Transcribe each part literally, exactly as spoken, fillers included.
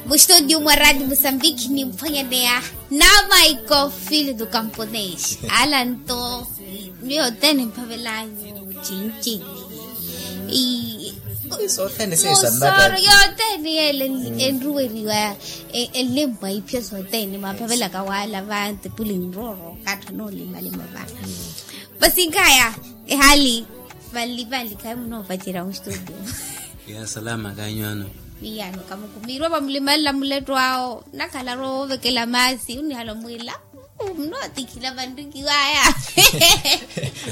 Mustudio mwa radio musambiki nimphwanyaneya namaiko filitu kamponeshi alanto. Miyo teni mphavelanyu chinchi. Sosoro yoteni yele enruweriwa. Enlempwa ipyo soteni mwamphavelaka wala vantipuli nroro kattha nolimalima va. Vasinkaya ehali vali vali khayi munoopacerya mustudio. Ya salama kanyu ano? Iyano kamukumiirwa vamulimanla muletto awo nakhala roovekela maasi onihala omwiila. Munootikhila vanrikiwaya.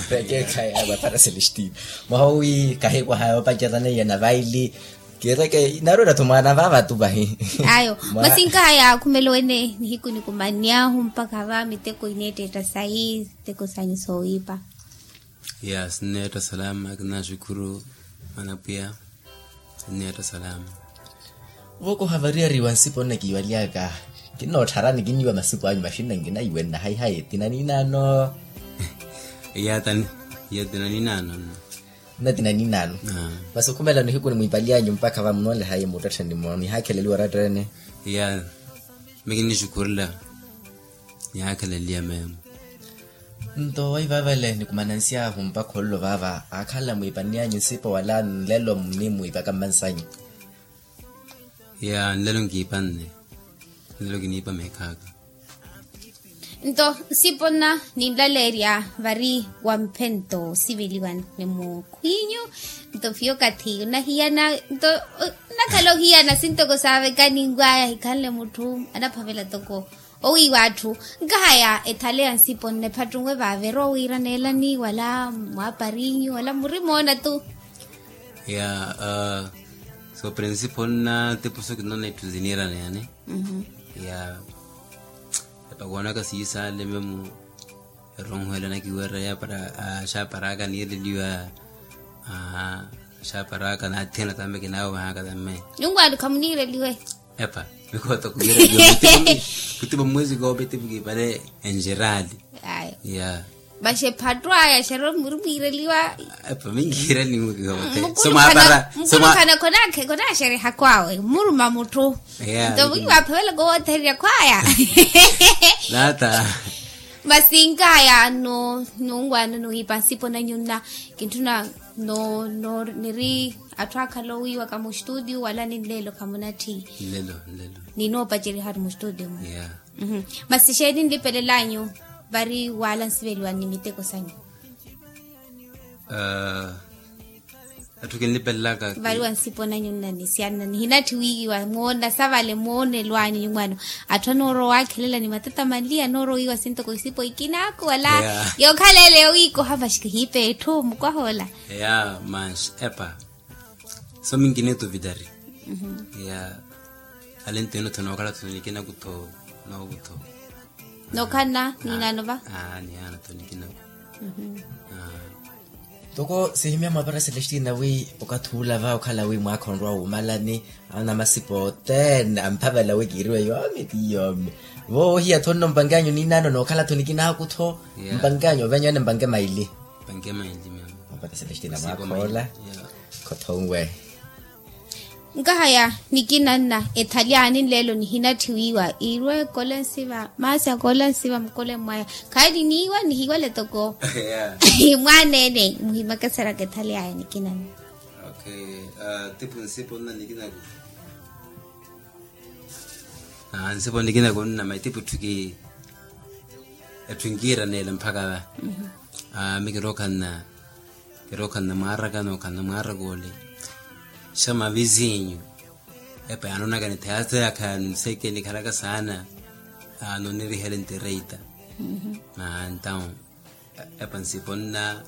Vekekhaya vapara celestine mwaha owi kahekwaha yoopacerya neiya na vaili. Kiireke narwela-tho mwaana vaavatu vahi. Ayo masinkaya akhumela wene nihiku nikumanyahu mpakha va miteko ineettetta sayi miteko sanyu soowiipa. Ya sinneetta salama kinaxukhuru. Mwanapwiya sinneetta salama. Vookoha variyari wa nsipo nnakiiwalyaka. Kinnoottharani kinniiwa masipo anyu maxinna nkinayiwenna hayi hayi tina ninaano. Iya tani iya tina ninaano. Nna tina ninaano. Masi okhumela nihiku nimwiipali anyu mpakha vamunoole hayi muttettheni mwa nihaakheleliwa oratta ene. Iya. Mikinixukhurela nihaakheleliya meemo. Nto waivavale nikumanansy'ahu mpakha ollo vaava aakhala mwiipanni anyu nsipo wala nlelo munimwiipaka mmansanyu? Ya nlelo nkiipanne. Nlelo kiniipa meekhaaka. Nto nsipo nna ninlaleerya vari wamphento osiveliwa ni mukhwinyu. Nto fiyo okathi onahiyana nto nnakhala ohiyana sintoko saavekani nkwaya ahikhanle mutthu anaphavela toko owiiwa atthu. Nkahaya ethale ya nsipo nna ephattunwe vaavira owiiraneelani wala mwaapariinyu wala murimoona tu. Ya so prinsipo nna tipuso kinoona itthu ziniiraneyani. Ya epakoonaka siisaale memu. Eronhuwela nakiwerya ya para axaaparaka niireliwa. Axaaparaka naathihana tamme kinaawehaka tamme. Nyungwaani khamuniireliwe. Epa mikhoto kuireliwa. Kutipa mwezi koope tipu kiipale enjerali. Aya ya. Maxephattu aya xerwa muri mwiireliwa. Epa minkiireliwe kiote. Mukulukhana khonaaxerehaka awe muruma mutthu. Nto mwiiwa aphavelaka owoothereryaka aya. Nata. Masi nkaya no nungwaano nuwiipa nsipo nanyu nna kintthuna no no niri atthu akhala owiiwaka mustudio wala ni nlelo khamunatthi. Nlelo nlelo. Ninoopacerihari mustudio mu. Masi xeeni nlipelela anyu vari wala nsiveliwani ni miteko sanyu? Atthu kinlipelelaka vari wa nsipo nanyu nnanisiyanna nihinatthi wiiwa moona savale moonelo anyu nyumwaano. Atthu anoorowa waakhelela ni matatamanliya anoorowa wiiwa sintoko isipo ikinaku wala yookhala ele yowiikoha vaxi kihiipa etthu mukwahoola. Ya manxi epa. So minkinituvitari ya alentino tho nookhala tho nikinaku tho. Nookutho. Nookhanna niinaano va. Niyaana tho nikinaku. Toko sihimya mwaapara celestina wi okathi ula va okhala wi mwaakha onrwa wuumalani. Anamasipa othene amphavela wi kiiriwe yoomi ti yoomi. Vo ohiya tho nno mpanke anyu niinaano nookhala tho nikinaku tho. Mpanke anyu ovenyu ene mpanke maili. Mpanke maili mama. Mwaapara celestina mwaakha ola. Khothonwe. Nkahaya nikinanna ethalyaani nlelo nihinatthi wiiwa iirwe kole nsiva maasi akole nsiva mukole mmwaya. Khayi niniiwa nihiwale toko. Mwaneene muhimakeseryaka ethalyaya nikinanna. Okay. Tiphu nsipo nna nikinaku. Nsipo nikinaku nna mayi tiphu tthu ki etthu nkiiraneela mpakha va. Mikirookhanna kirookhanna mwaaraka nookhanna mwaaraka ole. Xa mavizinyu epa yaanoonaka nithayaseya khayaani nseeke nikhalaka saana. Aano nirihele ntireita. Entaw epa nsipo nna